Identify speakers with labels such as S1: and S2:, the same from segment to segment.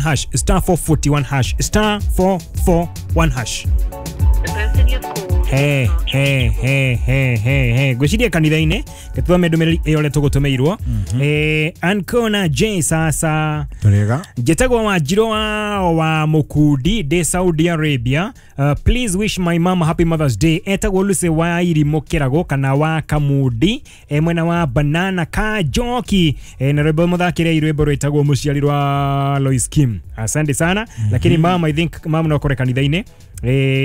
S1: Hash, star 441 hash, star 441 hash. He he he he he he, ngwiciria kanitha-inĩ gĩtũthome ndũmĩrĩri ĩyo ũrĩa tũgũtũmĩirwo. Ancona J sasa.
S2: Tũrĩega.
S1: Njĩtagwo Wanjirũ wa Mũkundi, ndĩ Saudi Arabia. Please wish my mom happy Mother's Day. Etagwo Lucy wa Irimũ Kĩrago kana wa Kamundi, mwena wa Banana Kajoki. Na rwĩmbo mũthakĩre rwĩmbo rwĩtagwo Mũciari rwa Lois Kim. Asante sana. Lakini mama, I think mama no kore kanitha-inĩ,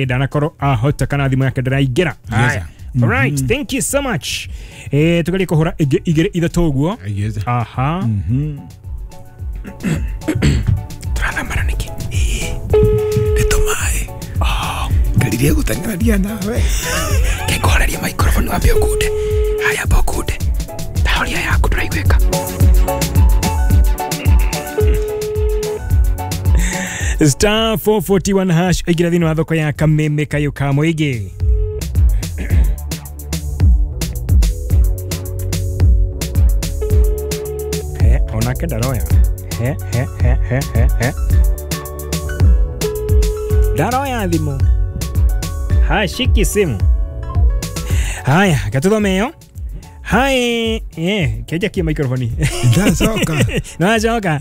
S1: ndanakorwo ahota kana thimũ yake ndĩraingĩra. Haya. Alright, thank you so much. Tugerie kũhũra ĩngĩ igĩrĩ ithatũ ũguo.
S2: Yes.
S1: Aha. Tũrathambana nĩkĩ?
S2: Nĩ tũmaĩ. Ngaririe gũteng'erania nawe.
S1: Kĩngũhoreria microphone wambe ũkunde. Haya, amba ũkunde. Ndahoria yaku ndũraiguĩka. Star 441 hash, ĩingĩra thĩinĩ wa thoko ya Kameme kayũ ka mũingĩ. He, onake ndaroya. He he he he he he, ndaroya thimũ, hashiki simu. Haya, gatuthome ĩyo. Hai, keja kia microphone.
S2: Ndacoka.
S1: Nacoka.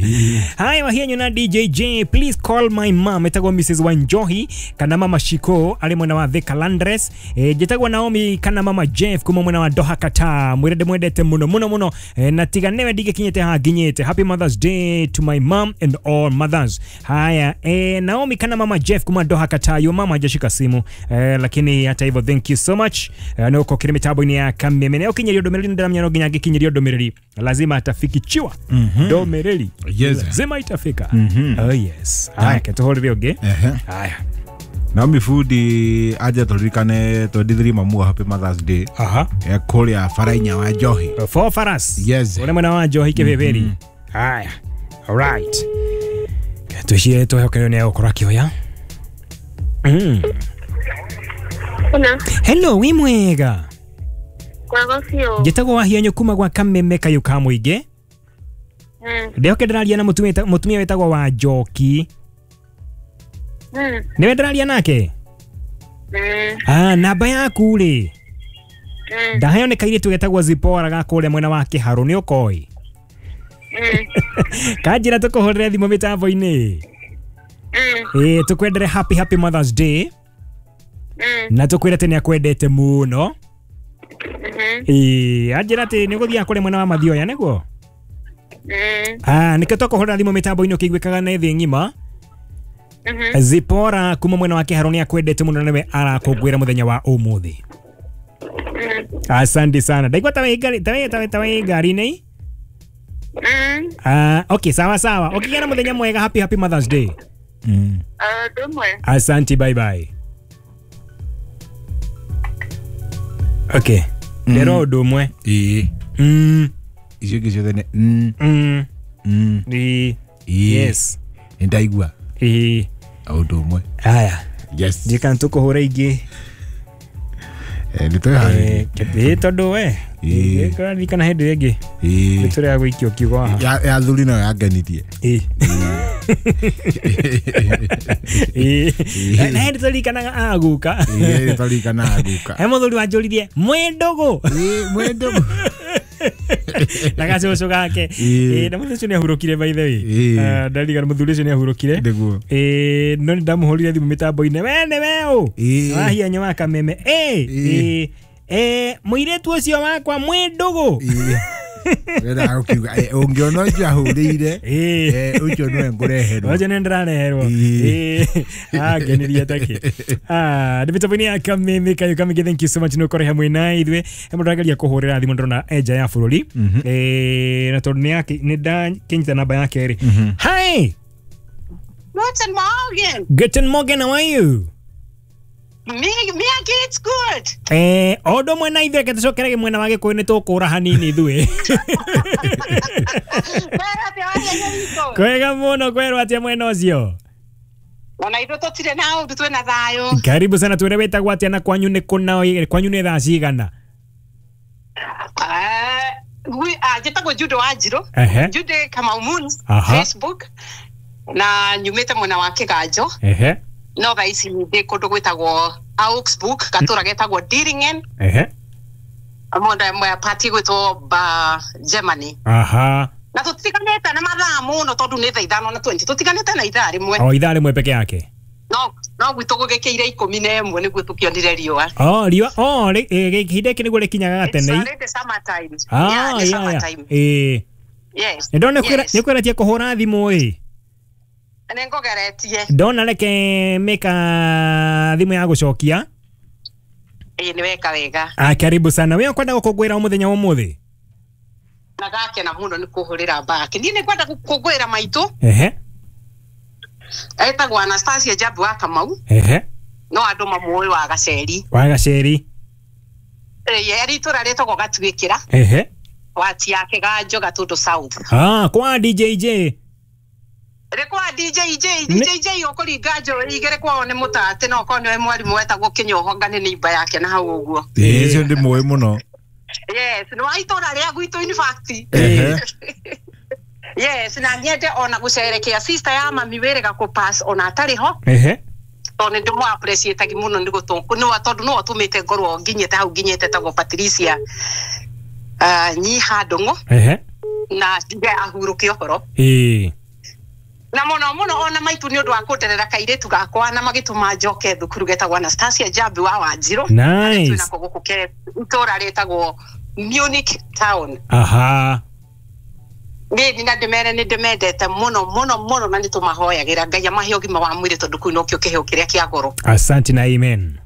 S1: Hi Wahienyu na DJ J, please call my mom, etagwo Mrs Wanjohi kana Mama Shiko ari mwena wa Thika Landres. Njĩtagwo Naomi kana Mama Jeff kuma mwena wa Doha Qatar. Mwĩre ndĩmwendete mũno mũno mũno, na tiga nĩwe ndingĩkinyĩte haha nginyĩte. Happy Mother's Day to my mom and all mothers. Haya, Naomi kana Mama Jeff kuma Doha Qatar. Yo mama hajashika simu, lakini hata hivyo thank you so much. Na uko kiri mitambo-inĩ ya Kameme. Na ũkinyerio ndũmĩrĩri ndĩramenya no nginya angĩkinyerio ndũmĩrĩri lazima atafikichiwa. Ndũmĩrĩri
S2: Yes.
S1: lazima itafika. Oh yes. Haya, ketũhũrĩre ũngĩ. Haya.
S2: Naomi Fundi aje tũririkane 23 mamu happy Mother's Day.
S1: Aha.
S2: Kũrĩa Barainya wa Njohi.
S1: Four faras.
S2: Yes.
S1: Ũrĩa mwena wa Njohi kĩbĩbĩri. Haya. Alright. Twĩcirie twĩhokerio nĩ egũkorwo akĩoya.
S3: Kuna
S1: Hello, wĩ mwega?
S3: Kwago biũ.
S1: Njĩtagwo Wahianyũ kuma gwa Kameme kayũ ka mũingĩ. Ndĩhoke ndĩraria na mũtumia wĩtagwo wa Njoki. Nĩwe ndĩraria nake? Namba yaku rĩ, ndaheo nĩ kairĩtu getagwo Zipora ga kũrĩa mwena wa Kĩharũ, nĩ ũkoĩ? Kanjĩra tũkũhũrĩre thimũ mĩtambo-inĩ. Tũkwendere happy happy Mother's Day na tũkwĩre atĩ nĩ akwendete mũno. Anjĩra atĩ nĩ ũgũthiaga kũrĩa mwena wa Mathioya nĩguo? Nĩkĩo twakũhũrĩra thimũ mĩtambo-inĩ ũkĩiguĩkaga nĩ thĩ ng'ima. Zipora kuma mwena wa Kĩharũ nĩ akwendete mũno na nĩwe arakũngũĩra mũthenya wa ũmũthĩ. Asante sana. Ndaigua ta wĩ ngari, ta wĩ ngari-inĩ. Okay, sawa sawa. Ũkĩgĩa na mũthenya mwega, happy happy Mother's Day.
S3: Ndũmwe.
S1: Asante, bye bye. Okay. Ndĩrwo ũndũ ũmwe.
S2: Ĩĩ. Icio ingĩ ciothe nĩ
S1: Ĩĩ.
S2: Ĩĩ.
S1: Yes.
S2: Nĩ ndaigua.
S1: Ĩĩ.
S2: Ũndũ ũmwe.
S1: Haya.
S2: Yes.
S1: Ndiĩ tũkũhũra ingĩ.
S2: Nĩ twĩharĩirie.
S1: Ĩĩ, tondũ we
S2: Ĩĩ.
S1: kũraririkana hĩndĩ ĩrĩa ĩngĩ
S2: Ĩĩ.
S1: nĩ tũrĩa gũikio kiugo haha.
S2: Ya thuri nayo yangenirie.
S1: Ĩĩ. Ĩĩ. Na hĩndĩ tũririkanaga aguka.
S2: Ĩĩ, nĩ twaririkanaga guka.
S1: He mũthuri wanjũririe mwĩ ndũgũ.
S2: Ĩĩ, mwĩ ndũgũ.
S1: Na gacũcũ gake.
S2: Ĩĩ.
S1: Na mũthuri ũcio nĩ ahurũkire by the way.
S2: Ĩĩ.
S1: Ndarigana mũthuri ũcio nĩ ahurũkire.
S2: Nĩguo.
S1: No nĩ ndamũhũrire thimũ mĩtambo-inĩ, we nĩ we ũ?
S2: Ĩĩ.
S1: Wahianyũ wa Kameme.
S2: Ĩĩ.
S1: Mũirĩtu ũcio wakwa mwĩ ndũgũ.
S2: Ĩĩ. Wendaga gũkiuga, ũngĩona ũcio ahũrĩire, ũcio nĩwe ngũreherwo.
S1: Ũcio nĩ ndĩrareherwo.
S2: Ĩĩ.
S1: Ngenirie takĩ. Nĩ mĩtambo-inĩ ya Kameme kayũ kamĩngĩ, thank you so much nĩ ũkorwo hamwe na ithuĩ. He mũndũ ũrageria kũhũrĩra thimũ ndĩrona e nja ya bũrũri. Na tondũ nĩ ndakĩnyita namba yake rĩ. Hi.
S4: Guten Morgen.
S1: Guten Morgen, how are you?
S4: Mir geht's gut.
S1: O ũndũ ũmwe na ithuĩ, reke tũcokerage mwena wa Gĩkũyũ nĩ tũkũra hanini ithuĩ.
S4: Kwĩra atĩa waria witũ?
S1: Kwega mũno, kwerwo atĩa mwena ũcio?
S4: Ona ithuĩ tũtirĩ na ũndũ, twĩna thayũ.
S1: Karibu sana, twĩre wĩtagwo atĩa na kwanyu nĩ kũ na kwanyu nĩ thaa cigana?
S4: Njĩtagwo Jude Wanjirũ.
S1: Ehe.
S4: Jude Kamau Moons.
S1: Aha.
S4: Facebook. Na nyumĩte mwena wa Kĩganjo.
S1: Ehe.
S4: No thaa ici ndĩ kũndũ gwĩtagwo Augsburg, gatũra getagwo Dillingen.
S1: Ehe.
S4: Mwena mwa party gwĩtwo ba Germany.
S1: Aha.
S4: Na tũtiganĩte na mathaa mũno tondũ nĩ thaa 5:20 tũtiganĩte na ithaa rĩmwe.
S1: O ithaa rĩmwe peke yake.
S4: No gwitũ gũgĩkĩire 11 nĩguo tũkĩonire riũa.
S1: Oh, riũa. Oh, ihinda gĩkĩ nĩguo rĩkinyaga gatene.
S4: It's already summertime.
S1: Ah,
S4: yeah,
S1: yeah,
S4: summertime.
S1: Eh.
S4: Yes.
S1: Ndona nĩ kwĩratia kũhũra thimũ ĩ.
S4: Nĩ ngũgeretie.
S1: Ndona reke mĩka thimũ ya gũcokia.
S4: Ĩĩ nĩ weka wega.
S1: Ah, karibu sana. Wewe kwenda gũkũngũĩra mũthenya wa ũmũthĩ?
S4: Na gakena mũno nĩ kũhũrĩra mbaki. Niĩ nĩ ngwenda gũkũngũĩra maitũ.
S1: Ehe.
S4: Etagwo Anastasia Jabu wa Kamau.
S1: Ehe.
S4: No andũ mamũĩ wa Gaceri.
S1: Wa Gaceri.
S4: Ĩĩ arĩ itũra rĩtagwo Gatuĩkĩra.
S1: Ehe.
S4: Wati ya Kĩganjo Gatũndũ South.
S1: Ah, kwa DJJ.
S4: Rĩ kwa DJJ, DJJ ũkũringa njũĩ igĩrĩ kwao nĩ mũtate no okorwo nĩwe mwarimũ wetagwo Kĩnyohonga nĩ neighbor yake na hau ũguo.
S2: Ĩĩ ũcio ndĩmũĩ mũno.
S4: Yes, nĩ wa itũra rĩa gwitũ in fact.
S2: Ehe.
S4: Yes, na nyende ona gũcerekea sister ya mami wĩrĩga kũ pass ona atarĩ ho.
S1: Ehe.
S4: Tondũ nĩ ndĩmũ appreciate mũno nĩ tondũ nĩwe ũtũmĩte ngorwo nginyĩte hau nginyĩte tagwo Patricia Nyiha Ndũng'ũ.
S1: Ehe.
S4: Na njuge ahurũke ũhoro.
S1: Ĩĩ.
S4: Na mũno mũno ona maitũ nĩ ũndũ wa kũnderera kairĩtu gakwa na magĩtũma njoke thukuru getagwo Anastasia Jambi wa Wanjirũ.
S1: Nice.
S4: Twĩnako gũkũ ke itũra rĩtagwo Munich town.
S1: Aha.
S4: Niĩ na ndĩmere nĩ ndĩmendete mũno mũno mũno na nĩ tũmahoyagĩra Ngai amahe ũgima wa mwĩrĩ tondũ kũu nokĩo kĩheo kĩrĩa kĩa goro.
S1: Asante na amen.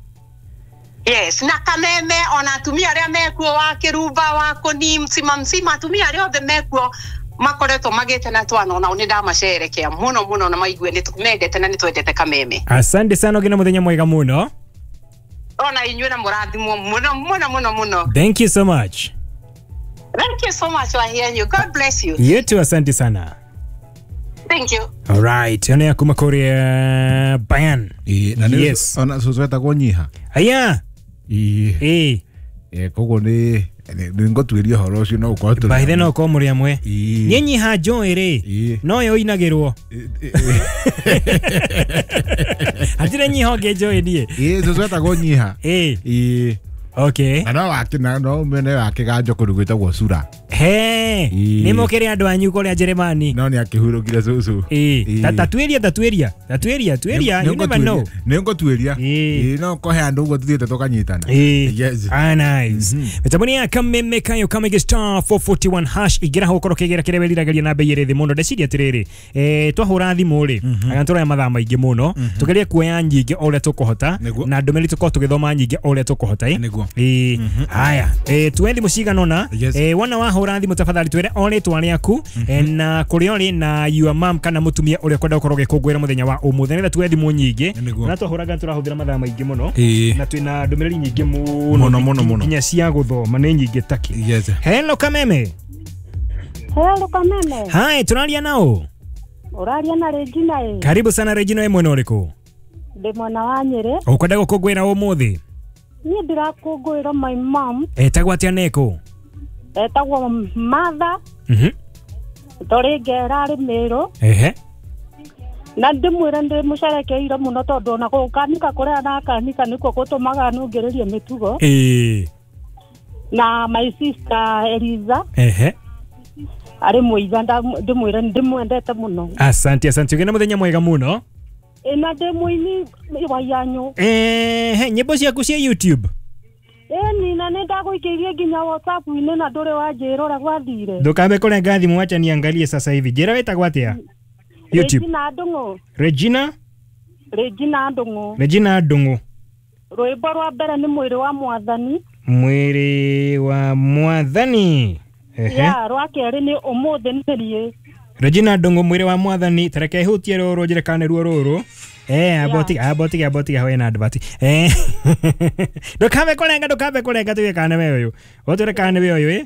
S4: Yes, na kameme ona atumia arĩa mekuo wa Kĩrumba wa Kũni msima msima atumia arĩa othe mekuo makoretwo magĩte na twana onao nĩ ndamacerekea mũno mũno na maigue nĩ tũmendete na nĩ twendete kameme.
S1: Asante sana ũgĩe na mũthenya mwega mũno.
S4: Ona inyuĩ na mũrathimwo mũno mũno mũno mũno.
S1: Thank you so much.
S4: Thank you so much Wahianyu. God bless you.
S1: You too, asante sana.
S4: Thank you.
S1: All right, ona kuma kuria Bayan.
S2: Ĩĩ na nĩ
S1: Yes.
S2: ona cũcũ etagwo Nyiha.
S1: Aya.
S2: Ĩĩ.
S1: Ĩĩ.
S2: Koguo nĩ ngũtuĩria ũhoro ũcio no ũkorwo tũrĩ
S1: By then no ũkorwo mũrĩ amwe.
S2: Ĩĩ.
S1: Niĩ Nyiha njũĩ rĩ.
S2: Ĩĩ.
S1: No yo inagĩrwo. Hatirĩ Nyiha ũngĩ njũĩ niĩ.
S2: Ĩĩ cũcũ etagwo Nyiha.
S1: Ĩĩ.
S2: Ĩĩ.
S1: Okay.
S2: Na no wake na no mwene wa Kĩganjo kũndũ gwĩtagwo Sura.
S1: He.
S2: Ĩĩ.
S1: Nĩ mũkĩrĩ andũ anyu kũrĩa Jeremani.
S2: No nĩ akĩhurũkire cũcũ.
S1: Ĩĩ. Tatuĩria tatuĩria. Tatuĩria tuĩria. You never know.
S2: Nĩ ngũtuĩria.
S1: Ĩĩ.
S2: Ĩĩ no kũhe andũ ũguo tũthiĩte tũkanyitana.
S1: Ĩĩ.
S2: Yes.
S1: Ah, nice. Mĩtambo-inĩ ya Kameme kayo Kamege star 441 hash ingĩra hau ũkorwo ũkĩgĩra kĩrĩa wĩriragĩria na bei ĩrĩ thĩ mũno. Ndeciria atĩrĩrĩ, twahũra thimũ rĩ, anga tũroya mathaa maingĩ mũno, tũgerie kuoya nyingĩ o ũrĩa tũkũhota
S2: Nĩguo.
S1: na ndũmĩrĩri tũkorwo tũgĩthoma nyingĩ o ũrĩa tũkũhota.
S2: Nĩguo.
S1: Ĩĩ. Haya, tuoe thimũ cigana ũna.
S2: Yes.
S1: Wona wahũra thimũ tafadhali twĩre o rĩtwa rĩaku na kũrĩa ũrĩ na your mom kana mũtumia ũrĩa ũkwenda gũkorwo ũgĩkũngũĩra mũthenya wa ũmũthĩ nĩgetha tuoe thimũ nyingĩ.
S2: Nĩguo.
S1: Na twahũraga tũrahũthĩra mathaa maingĩ mũno
S2: Ĩĩ.
S1: na twĩna ndũmĩrĩri nyingĩ mũno
S2: Mũno, mũno, mũno.
S1: nginya cia gũthoma nĩ nyingĩ taki.
S2: Yes.
S1: Hello Kameme.
S3: Hello Kameme.
S1: Hi, tũraria nao.
S3: Ũraria na Regina ĩ.
S1: Karibu sana Regina, wĩ mwena ũrĩkũ?
S3: Ndĩ mwena wa Nyĩrĩ.
S1: Ũkwenda gũkũngũĩra ũmũthĩ?
S3: Niĩ ndĩrakũngũĩra my mom.
S1: Etagwo atĩa neko?
S3: Etagwo Martha.
S1: Mhm.
S3: Tũrĩ ngera arĩ Mĩrũ.
S1: Ehe.
S3: Na ndĩmwĩre ndĩmũcerekeire mũno tondũ ona gũkanika kũrĩa arakanika nĩkuo gũtũmaga nũngĩrĩrie mĩtugo.
S1: Ĩĩ.
S3: Na my sister Eliza.
S1: Ehe.
S3: Arĩ mũiga ndĩmwĩre ndĩmwendete mũno.
S1: Asante asante, ũgĩe na mũthenya mwega mũno.
S3: Ĩ na ndĩ mũini Wahianyũ.
S1: Ehe, nyĩmbo ciaku cia YouTube.
S3: Ĩni na nĩ ndagũikĩirie nginya WhatsApp-inĩ na ndũrĩ wanjĩra ũrĩa gwathire.
S1: Ndũkambe kũrenga thimũ, wacha niangalie sasa hivi. Njĩra wĩtagwo atĩa? YouTube.
S3: Regina Ndũng'ũ.
S1: Regina?
S3: Regina Ndũng'ũ.
S1: Regina Ndũng'ũ.
S3: Rwĩmbo rwa mbere nĩ mwĩrĩ wa mwathani.
S1: Mwĩrĩ wa mwathani. Ehe.
S3: Ya, rwa kerĩ nĩ ũmũthĩ nĩ niĩ.
S1: Regina Ndũng'ũ mwĩrĩ wa mwathani, tareke hutie rũrũ njĩre kana nĩruo rũrũ. Abotiga hoye na advert. Ndũkambe kũrenga tuge kana nĩwe ũyũ. Ũtwĩre kana nĩwe ũyũ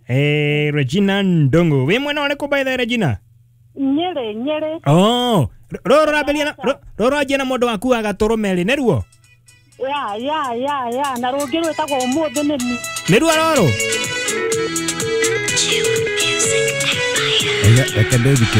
S1: ĩ. Regina Ndũng'ũ. Wĩ mwena ũrĩkũ by the way, Regina?
S3: Nyĩrĩ.
S1: Oh, rũrũ rambĩrĩria na rũrũ rwanjia na mũndũ waku wa gatũrũme rĩ, nĩruo?
S3: Ya na rũngĩ rwĩtagwo ũmũthĩ nĩ niĩ.
S1: Nĩruo rũrũ?
S2: Reke ndĩthikĩrĩrie.